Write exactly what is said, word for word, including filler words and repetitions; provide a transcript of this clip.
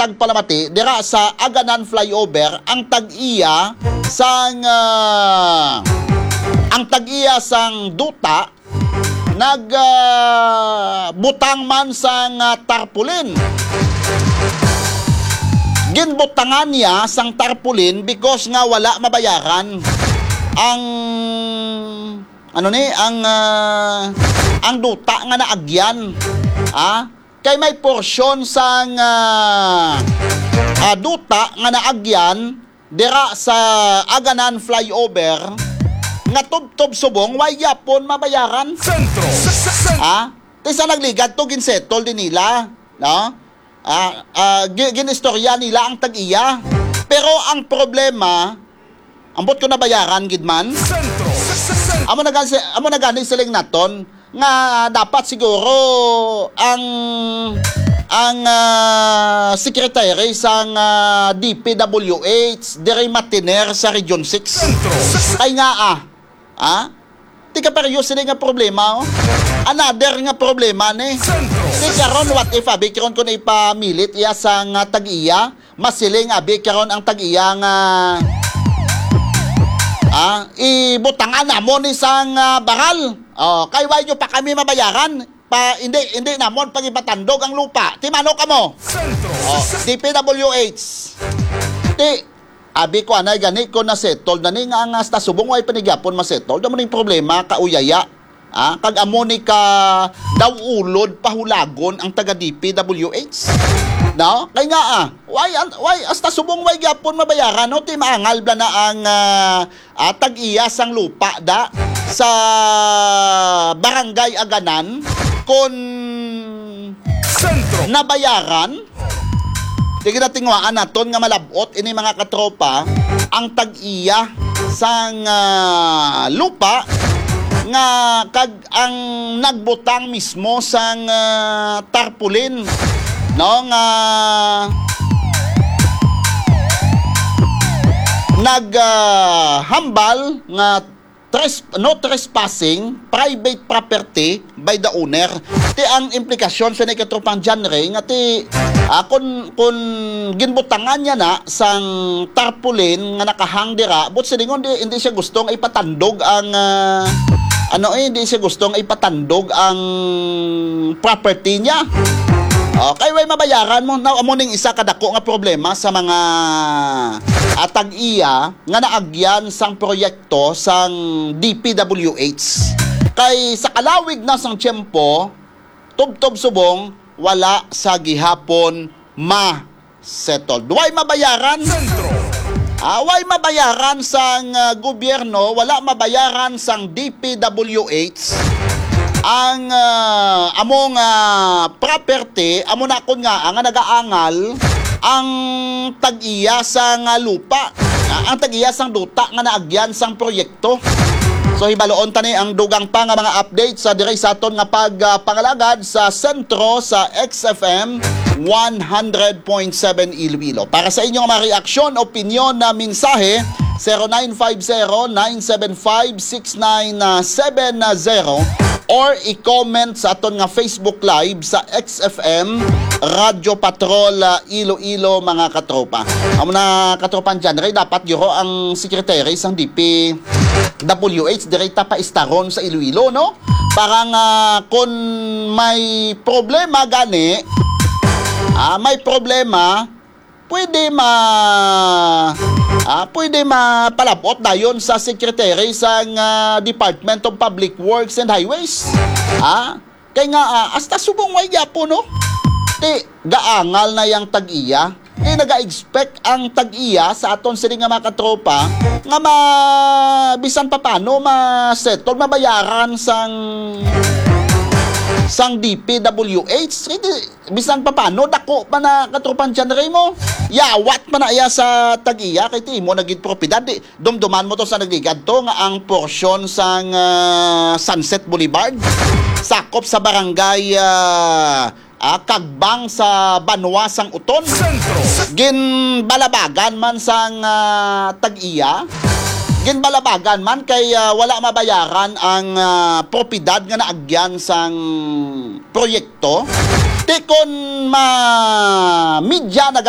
tagpalamati dira sa Aganan Flyover, ang tag-iya sang, ah, ang tag-iya sang duta nag, ah, butang man sang, ah, tarpaulin. Ginbutangan niya sang tarpaulin because nga wala mabayaran ang, ano ni, ang, ah, ang duta nga naagyan. Ah, kay may porsyon sang, ah, ah, duta nga naagyan dira sa Aganan Flyover nga tubtob subong way gyapon mabayaran. Sentro. Ah, ti sa nagligad to, ginsettle din nila, no? Ah, ah, gi-, ginistorya nila ang tag-iya. Pero ang problema, ambot ko nabayaran gid man. Sentro. Amo na gani, amo na gani siling naton nga dapat siguro ang, ang, ah, secretary sang, ah, D P W H diri matiner sa Region six. Sentro. Kay nga, ah, ah, ti kapareho sila nga problema, oh. Another nga problema ni. Sentro. Ti karon, what if, abi, karon kung ipamilit iya sang, ah, tag-iya, masiling, abi, karon ang tag-iya nga, ah, ibutangan namon ni sang, ah, baral. Oh, kay why nyo pa kami mabayaran? Pa, hindi, hindi namon pagipatandog ang lupa. Ti mano kamo? Sentro. Oh, D P W H. Ti, abi ko, anay gani ko na settled na ni nga, nga hasta subong way pa ni gyapon ma-settled. Amo ning problema, kauyaya. Ah, kag amo ni ka daw ulod pahulagon ang taga D P W H. No? Kay nga, ah, why, an-, why, hasta subong way gyapon mabayaran, no? Ti maangal bala na ang, ah, ah, tag-iya sang lupa da sa Barangay Aganan kon Sentro. Nabayaran. Sige, natinguhaan naton nga malab-ot ini, mga katropa, ang tag-iya sang, ah, lupa nga kag ang nagbutang mismo sang, ah, tarpaulin, no, nga nag, ah, hambal nga tres-, no trespassing, private property by the owner. Ti ang implikasyon sa ni katropang John Ray nga ti, ah, kun, kun ginbutangan niya na sang tarpaulin nga nakahang dira, but silingon di, hindi siya gusto nga ipatandog ang, ah, ano, eh, hindi siya gusto nga ipatandog ang property niya. Okay, way mabayaran mo. Now, amo ning isa ka dako nga problema sa mga, ah, tag-iya nga naagyan sang proyekto sang D P W H. Kay sa kalawig na sang tiyempo, tubtob subong, wala sa gihapon ma-settled. Way mabayaran? Sentro. Ah, way mabayaran sang, ah, gobyerno, wala mabayaran sang D P W H ang, ah, among, ah, property, amo na kun nga, nga nagaangal ang tag-iya sang, ah, lupa, ah, ang tag-iya sang duta nga naagyan sang proyekto. So, hibaloon ta ni ang dugang pa nga mga updates sa diri sa aton nga pag, ah, pangalagad sa sentro sa X F M one hundred point seven Iloilo. Para sa inyong mga reaksyon, opinyon na mensahe, zero nine five zero, nine seven five, six nine seven zero, or i-comment sa aton nga Facebook Live sa X F M Radyo Patrol, ah, Iloilo, mga katropa. Amo na, katropang John Ray, dapat guro ang secretary sang D P W H diri ta paistaron sa Iloilo, no? Para nga kun may problema gani, ah, may problema, pwede ma-, ah, pwede mapalabot dayon sa secretary sang, ah, Department of Public Works and Highways. Ah, kay nga, ah, hasta subong way gyapon, no? Ti, gaangal na yang tag-iya. Ti, naga-expect ang tag-iya sa aton sini nga mga katropa nga ma-, bisan pa paano ma-settle, mabayaran sang, sang D P W H. Ti, bisan pa paano, dako pa na, katropang John Ray, mo. Yawat pa na iya sa tag-iya, kay ti imo na gid propiedad. Di, dumduman mo to sa nagligad to nga ang porsyon sang, ah, Sunset Boulevard sakop sa barangay, ah, ah, Kagbang sa banwa sang Uton. Sentro. Ginbalabagan man sang, ah, tag-iya. Ginbalabagan man kay, ah, wala mabayaran ang, ah, propiedad nga naagyan sang proyekto. Ti kon ma-, media na